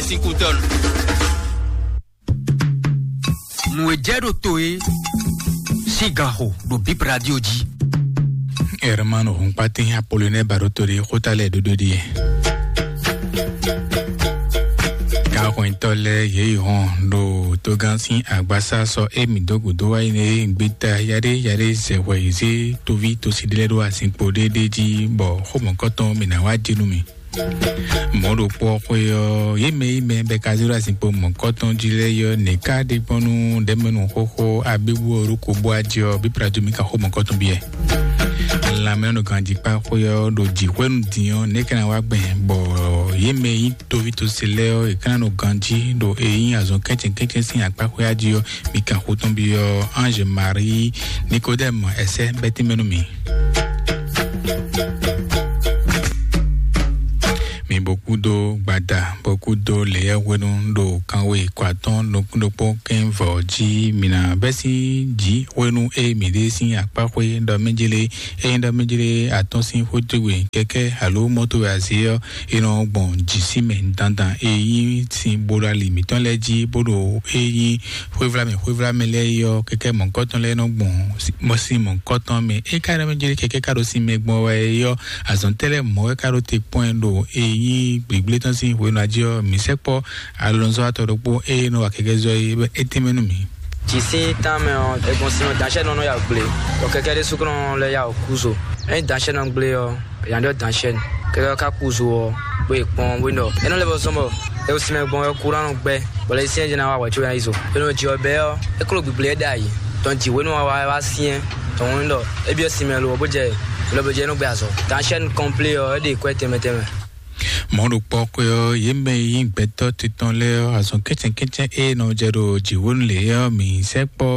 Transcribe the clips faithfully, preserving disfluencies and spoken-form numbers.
Sín kú tɔnu. Nǔ e jɛ ɖo to é sín ganxo ɖo Bip Radio jí. Hermano Hunkpatin Apollinaire Baɖoto ɖe xóta lɛ́ɛ ɖóɖó ɖíe. Gǎnhwɛntɔ́ lɛ́ɛ yě yi hɔn ɖo togán sín agbasá sɔ émí dó gǔdo wá yi nɛ gbéta yaɖé yaɖé zɛ hwɛ yi zé toví tosi ɖé lɛ́ɛ ɖó azinkpo ɖé ɖé jí bɔ xó mɔ̌kɔtɔn mǐ ná wá jɛ nú mì. Mɔ̌ ɖokpó ɔ́ xwé ɔ́, yě mɛ yi mɛ bɛ ka zé ɖo azinkpo mɔ̌kɔtɔn jí lɛ́ɛ yɔ nɛ̌ ká ɖe gbɔn nú ɖɛ̌mɛnu xóxó abébu ɔ́ ɖó ko bó ají ɔ́, bí Platu mì ka xó mɔ̌kɔtɔn byɔ́. Lanmɛnɔ ganjíkpá xwé ɔ́ ɖo jǐxwénu din ɔ́, nɛ̌ ká ná wá gbɛn bɔ yě mɛ yi toví tose lɛ́ɛ ɔ́, è ká ná nɔ ganjí ɖo e nyí azɔn kɛ́ncɛ́n kɛ́ncɛ́n sín akpá xwé ají ɔ́, mì kan xó tɔn byɔ́ Ange Marie Nikodɛ́mu ɛsɛ bɛ́ tínmɛ nú mì. Mi bó kúdó gbada, bó kúdó leyɛ́hwenu ɖo kanwe kɔ atɔ́ nukún ɖokpó kɛ́n vɔ̌ jí mi ná bɛ́ sín jǐ hwenu e mǐ ɖe sín akpá xwé ɖɔ mɛ jélé, ényí ɖɔ mɛ jélé atɔ́ sín xwé towe kɛ́kɛ́ alo mɔ́ towe azě ɔ́, è nɔ gbɔn jǐ sín mɛ dandan e nyí sin bó ɖo ali mǐtɔn lɛ́ɛ jí bó ɖo e nyí xwévlámɛ xwévlámɛ lɛ́ɛ yi ɔ́, kɛkɛ́ mɔ̌kɔtɔn lɛ́ɛ nɔ gbɔn mɔ sín mɔ̌kɔtɔn mɛ. É ka ɖɔ mɛ jɛ kɛkɛ́ ka ɖo sin mɛ gbɔn wɛ yi ɔ́, azɔ̌ tɛ́ lɛ́ɛ mɔ̌ wɛ ka ɖo te kpɔ́n ɛ ɖo e nyí gbǐgblétɔ́ sín hwenu jí ɔ́, mǐ sɛkpɔ́ alɔnzɔ́watɔ́ ɖokpó e nɔ wa kɛkɛ́ zɔ é tɛ́nmɛ nú mǐ. Jǐ sín tánmɛ ɔ́, è gbɔn sin ɔ́, danshɛ́nɔ nɔ ya gble, bɔ kɛkɛ́ ɖésú kɔn lɛ́ ya kú zo. Ényí danshɛ́nɔ gble ɔ́, è nǎ ɖɔ danshɛ́nɔ. Kɛkɛ́ ɔ́ ka kú zo ɔ́, bó yi kpɔ́n bó nɔ. É nɔ lɛ́ vɔ zɔ́n bɔ è wú sin mɛ gbɔn wɛ kú ná nɔ gbɛ́, bɔ lɛ sín jɛ ná wa wɛ̌ có ná yi zo. É nɔ jɛ ɔ́ bɛ́ ɔ́, é klo gbǐgbli é ɖ'ayǐ. Tɔn jǐ hwenu wa wá wá syɛ́n. Tɔn hwenu ɖɔ é byɔ́ sin mɛ lo ɔ́, bó jɛ lɔ bó jɛ é nɔ gbɛ azɔ̌. Danshɛ́nɔ kɔnplé ɔ́, é ɖe kwɛ́ tɛnmɛ tɛnmɛ. Mɔ̌ ɖokpó ɔ́ xwé ɔ́, yě mɛ e nyí gbɛtɔ́ titɔn lɛ́ɛ ɔ́, azɔn kɛ́cɛ́kɛ́cɛ́ e nɔ jɛ ɖo jǐhónú lě ɔ́, mǐ sɛkpɔ́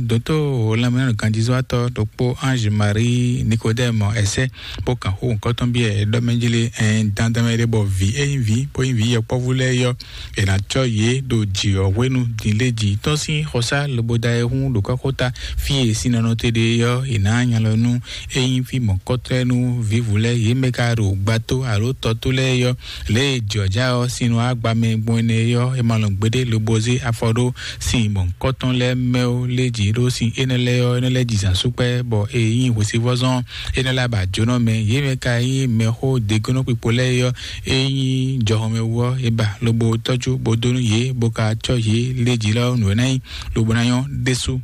dǒtó lanmɛnánɔganjízɔ́watɔ́ ɖokpó Ange Marie Nikodɛ́mu ɛsɛ́ bó kan xó nǔkɔ́tɔn byɔ́ ɛ ɖɔ mɛ jí lé, ɛn dandan mɛ ɖé bɔ vǐ e nyí vǐ bó nyí vǐ yɔkpɔ́vú lɛ́ɛ yɔ́, è nǎ cɔ́ yě ɖo jǐ ɔ́ hwenu din lé jí tɔ́n sín xɔsá lobo da ɛ hún ɖo kɔ́xota fí e sín nɔ nɔ te ɖe ɔ́, è nǎ nya lɔ nú é nyí fí mɔ̌kɔtɔ́ nú vǐvú lɛ́ɛ, yě mɛ ka ɖo gbato alo tɔ́tó lɛ́ɛ yɔ́. Lě e jɔ̌já ɔ́ sín nɔ agba mɛ gbɔn énɛ́ yɔ́, è ma lɔn gbeɖé lobo zé afɔ ɖó sin mɔ̌kɔtɔn lɛ́ɛ mɛ ó lé jǐ ɖó sin énɛ́ lɛ́ɛ ɔ́, énɛ́ lɛ́ɛ ji zǎn súkpɛ́, bɔ è nyí hwesivɔ́zɔ́n énɛ́ lɛ́ɛ ba jǒnɔ mɛ. Yě mɛ ka nyí mɛxó degɔ́nɔkpikpo lɛ́ɛ yɔ́, é nyí jɔhɔnmɛwú ɔ́, è ba lobo tɔ́jú bó dó nú yě, bó ka cɔ́ yě lé jǐ lɔ nǔ e ná nyí lobo ná nyɔ́ ɖésú.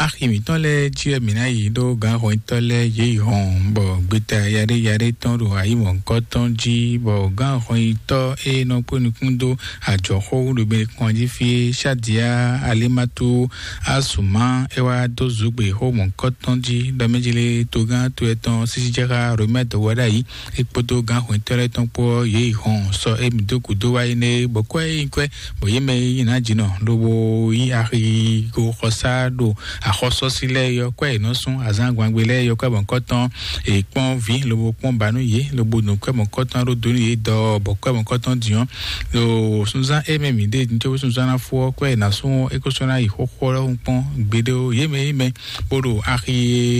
Axi mǐtɔn lɛ́ɛ jí wɛ mǐ ná yi ɖó gǎnhɔntɔ́ lɛ́ɛ yě yi hɔn, bɔ gbeta yaɖé yaɖé tɔn ɖo ayǐmɔ̌kɔ́ tɔn jí, bɔ gǎnhɔntɔ́ e nɔ kpó nukún dó ajɔ̌xó ɖo mɛ kɔn jí fí é, Shadia Alimatu Asuma, é wá dó zǔgbe xó mɔ̌kɔ́ tɔn jí ɖɔ mɛ jí lé togán to etɔn sísí jɛ xá Romɛ dɔwɛɖ'ayǐ. É kpódó gǎnhwɛntɔ́ lɛ́ɛ tɔn kpó ɔ́, yě yi hɔn sɔ émí dó gǔdo wá yi nɛ, bɔ kwɛ́ é nyí kwɛ́, bɔ yě mɛ e nyí nǎjínɔ lobo yí axigo xɔsá ɖo axɔsɔ́sí lɛ́ɛ yɔ́ kwɛ́ è nɔ sún azǎn gbangbé lɛ́ɛ yɔ́ kwɛ́ mɔ̌kɔtɔn, è kpɔ́n vǐ lobo kpɔ́n ba nú yě, lobo nǔ kwɛ́ mɔ̌kɔtɔn ɖó dó nú yě dɔ, bɔ kwɛ́ mɔ̌kɔtɔn din ɔ́, ɖo sunzán é mɛ mǐ ɖe din cóbó sunzán ná fó ɔ́, kwɛ́ è nǎ sún é kó sɔ́ ná yi xóxó ɔ́ lɔ́hun kpɔ́n gbeɖé ó. Yě mɛ yě mɛ bó ɖo axi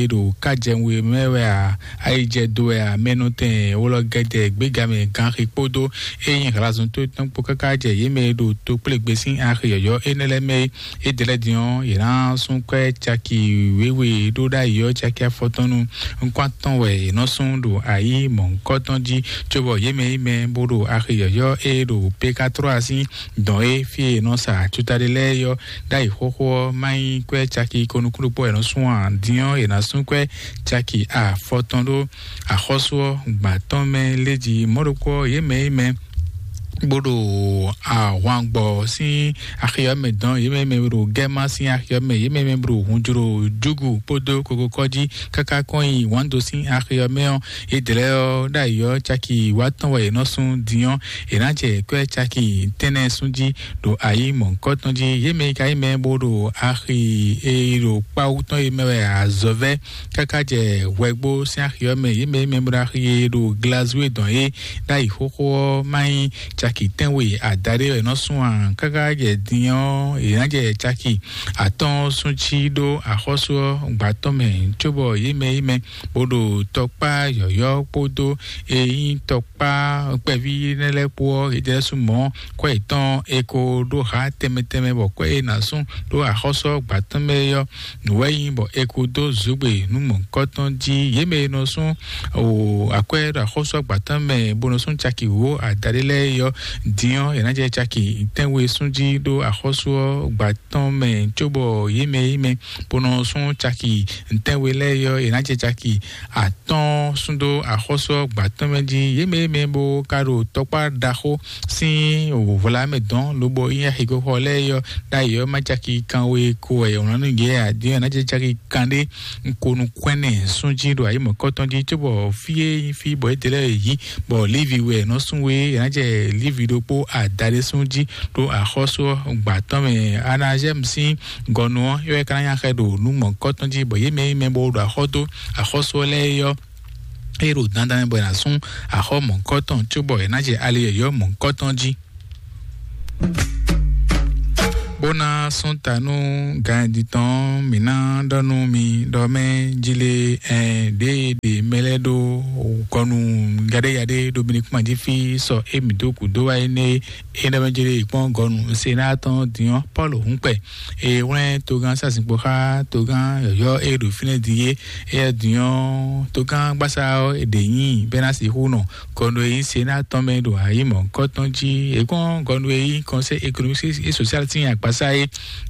e ɖo kájɛwé mɛ wɛ a, ayijɛ do wɛ a, mɛnɔtɛn wlɔ gɛdɛ gbégamɛ ganxi kpódó ényí hlazɔn tó tɔn kpó káká jɛ yě mɛ e ɖo tokplégbé sín axi yɔ̌yɔ́ énɛ́ lɛ́ɛ mɛ é. É ɖe lɛ́ɛ din ɔ́, yě ná sún kwɛ́ caki wěwe ɖó ɖ'ayǐ ɔ́ caki afɔtɔn nu. Nukún atɔn wɛ yě nɔ sún ɖo ayǐ mɔ̌hunkɔtɔn jí, cóbɔ yě mɛ yí mɛ bó ɖo axi yɔ̌yɔ́ e ɖo Pekatrɔ́a sín dɔn é fí e è nɔ sa acutaɖé lɛ́ɛ yɔ́ ɖ'ayǐ xóxó ɔ́, má nyí kwɛ́ caki ko nukún ɖokpó wɛ è nɔ sún ǎ. Din ɔ́, è nǎ sún kwɛ́ caki afɔtɔn ɖó axɔ́sú ɔ́ gbǎ tɔn mɛ lé jí. Mɔ̌ ɖokpó ɔ́, yě mɛ yí mɛ bó ɖo ahwangbɔ sín axi ɔ́ mɛ dɔn, yě mɛ mɛ ɖo gɛ́ma sín axi ɔ́ mɛ, yě mɛ mɛ ɖo hunjlo júgu kpódó kokokɔ́ jí káká kɔn nyi wǎndo sín axi ɔ́ mɛ ɔ́, yě dlɛ́ ɔ́ ɖ'ayǐ ɔ́ caki wǎtɔn wɛ yě nɔ sún din ɔ́, yě ná jɛ kwɛ́ caki tɛ́nnɛ sún jí ɖo ayǐ mɔ̌hunkɔtɔn jí. Yě mɛ e ka nyí mɛ bó ɖo axi e ɖo kpáwú tɔn e mɛ wɛ azɔ̌ vɛ́ káká jɛ hwɛgbo sín axi ɔ́ mɛ, yě mɛ e mɛ bó ɖo axi e ɖo Glazúwe dɔn é ɖ'ayǐ xóxó ɔ́ má nyí caki tɛ́nwe adaɖé wɛ nɔ sún a? Káká jɛ din ɔ́, è nǎ jɛ caki atɔ́ɔ́n sún cí ɖó axɔ́sú ɔ́ gbǎtɔ́ mɛ, cóbɔ yě mɛ yí mɛ bó ɖo tɔkpá yɔ̌yɔ́ kpódó e nyí tɔkpá kpɛví nɛ́ lɛ́ɛ kpó ɔ́, yě jɛ sú mɔ̌ kwɛ́ yětɔn è ko ɖó hǎ tɛnmɛ tɛnmɛ, bɔ kwɛ́ e nǎ sún ɖó axɔ́sú ɔ́ gbǎtɔ́ mɛ é ɔ́, nǔ wɛ nyí bɔ è ko dó zǒgbe nú mɔ̌hunkɔtɔn jí. Yě mɛ e nɔ sún o akwɛ́ ɖo axɔ́sú ɔ́ gbǎtɔ́ mɛ bó nɔ sún caki wǒ adaɖé lɛ́ɛ é ɔ́, din ɔ́, è nǎ jɛ caki tɛ́nwe sún jí ɖó axɔ́sú ɔ́ gbǎtɔ́ mɛ, cóbɔ yě mɛ yí mɛ bó nɔ sún caki tɛ́nwe lɛ́ɛ é ɔ́, è nǎ jɛ caki atɔ́ɔ́n sún dó axɔ́sú ɔ́ gbǎtɔ́ mɛ jí. Yě mɛ yí mɛ bó ka ɖo tɔkpá ɖaxó sín wǒvla mɛ dɔn, lobo nyí axixɔxɔ lɛ́ɛ é ɔ́, ɖ'ayǐ ɔ́, ma caki kanwe ko wɛ è wlǎn nú yě ǎ, din ɔ́, è nǎ jɛ caki kanɖé ko nukún ɛnɛ sún jí ɖo ayǐ mɔ̌kɔtɔn jí, cóbɔ fí e nyí fí bɔ yědɛɛ lɛ́ɛ yě yí, bɔ Lévi wɛ è nɔ sún we, è nǎ jɛ Lévi ɖokpó adaɖé sún jí ɖo axɔ́sú ɔ́ gbǎtɔ́ mɛ. Anazɛ́mu sín gɔnu ɔ́, é wɛ ka ná nya xɛ ɖo nǔ mɔ̌kɔtɔn jí, bɔ yě mɛ e nyí mɛ bó ɖo axɔ́ dó axɔ́sú ɔ́ lɛ́ɛ é ɔ́, é ɖo dandan mɛ bɔ è nǎ sún axɔ́ mɔ̌kɔtɔn, cóbɔ è nǎ jɛ ali yɔ̌yɔ́ mɔ̌kɔtɔn jí. Bó ná sɔ́n ta nú ganjí tɔn, mǐ ná ɖɔ nú mi ɖɔ mɛ jí lé, ɛn ɖěe ɖe mɛ lɛ́ɛ ɖó gɔnu yaɖéyaɖé ɖo mi ní kpán jí fí sɔ émí dó gǔdo wá énɛ́ é. É ɖɔ mɛ jí lé kpɔ́n gɔnu Senáa tɔn din ɔ́, Pɔ́lu hun kpɛ. É wlɛ́n togán sásìkpo xá togán yɔ̌yɔ́ e ɖo fínɛ́ din é. Éyɛ́ din ɔ́, togán gbásá ɔ́, è ɖě nyi bɛ́ ná sixú nɔ gɔnu e nyí Senáa tɔn mɛ ɖo ayǐ mɔ̌hunkɔtɔn jí. È kpɔ́n gɔnu e nyí Conseil économique et social sín akpasá é.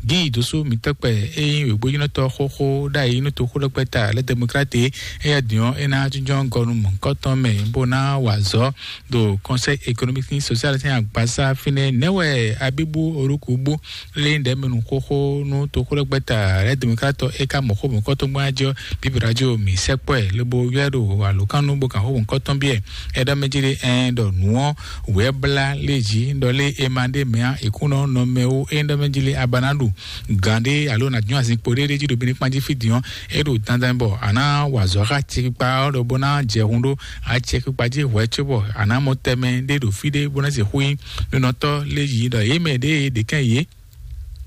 Gíi dǒsú mǐtɔn kpɛ e nyí wěgbójínɔtɔ́ xóxó ɖ'ayǐ nú toxóɖɔkpɛ́ta lɛ́ Democrate é. Éyɛ́ din ɔ́, é ná jínjɔ́n gɔnu mɔ̌hunkɔtɔn mɛ bó ná wa azɔ̌ ɖo Conseil économique et social sín agbasa fínɛ́. Nɛ̌ wɛ Abíbú Olúkúbú lé ɖɛ̌mɛnu xóxó nú toxóɖɔgbɛ́ta Rédemokrate é ka mɔ xó mɔ̌kɔ́tɔ́gbɔn jí ɔ́, Bíbí Radio mǐ sɛkpɔ́ ɛ lobo ylɔ́ ɛ ɖo alǒkánnu bó kan xó mɔ̌kɔ́tɔn byɔ́ ɛ. É ɖɔ mɛ jí lé ɛn ɖɔ nǔ ɔ́ wǔ wɛ blá lé jí ɖɔ lé é ma ɖ'é mɛ ǎ, è kún nɔ nɔ mɛ wú é ɖɔ mɛ jí lé a ba ná ɖu gǎn ɖé alo nǎ dun azinkpo ɖé ɖé jí ɖo Benin kpán jí fí din ɔ́, é ɖo dandan bɔ a nǎ wa azɔ̌ xá acɛkpikpa ɔ́ ɖɔ bó ná jɛ hun ɖó acɛkpikpa jí hwɛ̌ cóbɔ a nǎ mɔ tɛmɛ ɖé ɖo fí ɖé bó ná sixú nyí nunɔtɔ́ lé yǐ ɖɔ yě mɛ ɖěe ɖě kɛn yě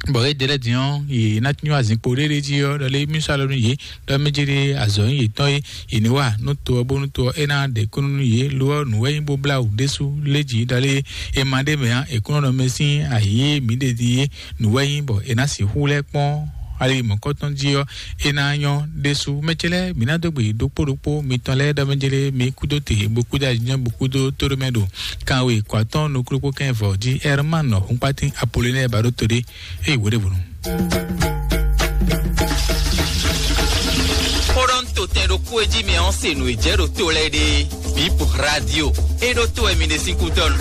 bɔ é ɖe lɛ́ɛ din ɔ́, yě ná nyɔ́ azinkpo ɖé ɖé jí ɔ́, ɖɔ lé mí sɔ́ alɔ nú yě ɖɔ mí jí ɖé azɔ̌ nyí yětɔn é, yě ní wa nú to ɔ́ bónú to ɔ́ é ná ɖe kúnnu nú yě. Lo ɔ́, nǔ wɛ nyí bó blá wǔ ɖésú lé jǐ ɖɔ lé è ma ɖ'é mɛ ǎ, è kún nɔ mɛ sín ayǐ e mǐ ɖe din é. Nǔ wɛ nyí bɔ è nǎ sixú lɛ́ kpɔ́n ali mɔ̌kɔtɔn jí ɔ́, é ná nyɔ́ ɖésú. Mɛ ce lɛ́ɛ, mǐ ná dó gbe ɖokpó ɖokpó mitɔn lɛ́ɛ ɖɔ mɛ jélé mi kúdó te bó kúdó ajínjɔ́n bó kúdó tóɖó mɛ ɖo kanwe kó atɔ́ɔ́n nukúnukún kɛ́n vɔ̌ jí. Ɛrmán nɔ Hunkpatín Apolinɛ́ɛ ba ɖó to ɖé. Ée wǒ ɖěvo nu. Xó ɖɔ ń to tɛn ɖokpó e jí mɛ ɔ́ se nǔ e jɛ ɖo to lɛ́ɛ ɖe. Bip Radio. E ɖo to wɛ mi ɖe sín kútɔ́ nu.